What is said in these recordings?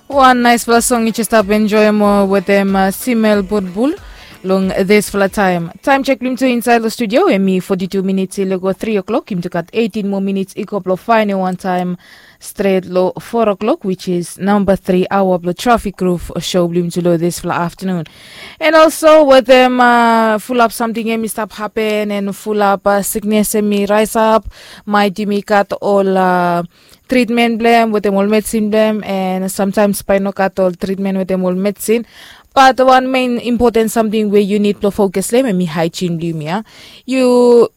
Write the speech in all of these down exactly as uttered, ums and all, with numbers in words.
Wan naispela song yu jes stap enjoim wetem simel bulbul. Long dispela taim, taim chek bilong tu insait long studio em i foti tu minits i lego tri o'clock, yumi tu gat eighteen moa minits i go bilong fainiu wantaim stret long four o'clock, which is namba three aoa bilong trafik ruf show bilong yumi tu long dispela afternoon. And also wetem fulap samting em i stap hapen and fulap siknes em i raisap, mait yumi gat ol tritmen bilong em wetem ol medisin bilong em, and sometimes bai i no gat ol tritmen wetem ol medisin. Bat wan men impoten samting we yu nid blong fokus long em em i haijin bilong yumi ya. Yu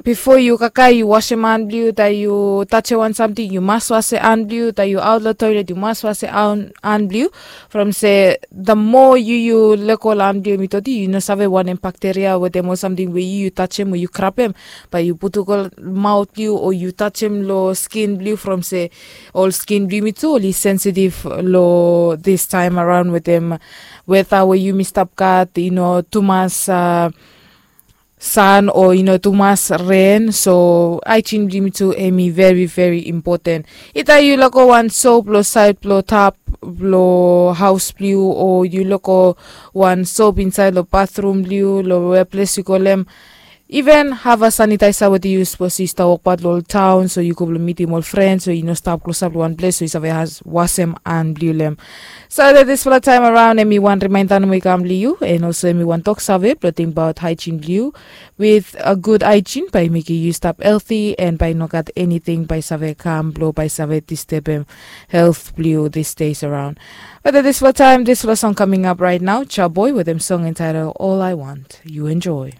bipo yu kaikai yu wasim han bilong yu tai yu tasim wan samting yu mas wasim han bilong yu tai yu aut long toilet yu mas wasim han bilong yu. From se the moa yu yu leko long han bilong yu mitoti yu no save wanem bakteria wetem ol samting we yu yu tasim o yu krapem, bai yu putum go maut bilong yu o yu tasim long skin bilong yu from se ol skin bilong yumi tu ol i sensitif long this time around wetem weta we yumi stap gat i no tumas san o i no tumas ren. So aijin bilong yumi tu em i veri veri impoten. Ita yu loko wan sop long sait blong tap blong haus blong yu o yu loko wan sop insait long bathrum blong yu long weples yu kolem. Even hava sanitaisa wetem yu sapos yu stap wokbaut long ol taun so yu go blong mitim ol frens o yu no stap klosap long wan ples so yu save wasem han blong yu long em. So that dispela taim araun em i wan rimainda nomo i kam long yu, and olsem em i wan tok save blong tingbaut haijin blong yu. With a good haijin bai i mekim yu stap helti and bai i no gat eniting bai i save kam blong bai i save distebem helt blong yu this days around. But at dispela taim dispela song coming up right now, Chaboy with em song entitled All I Want. You enjoy.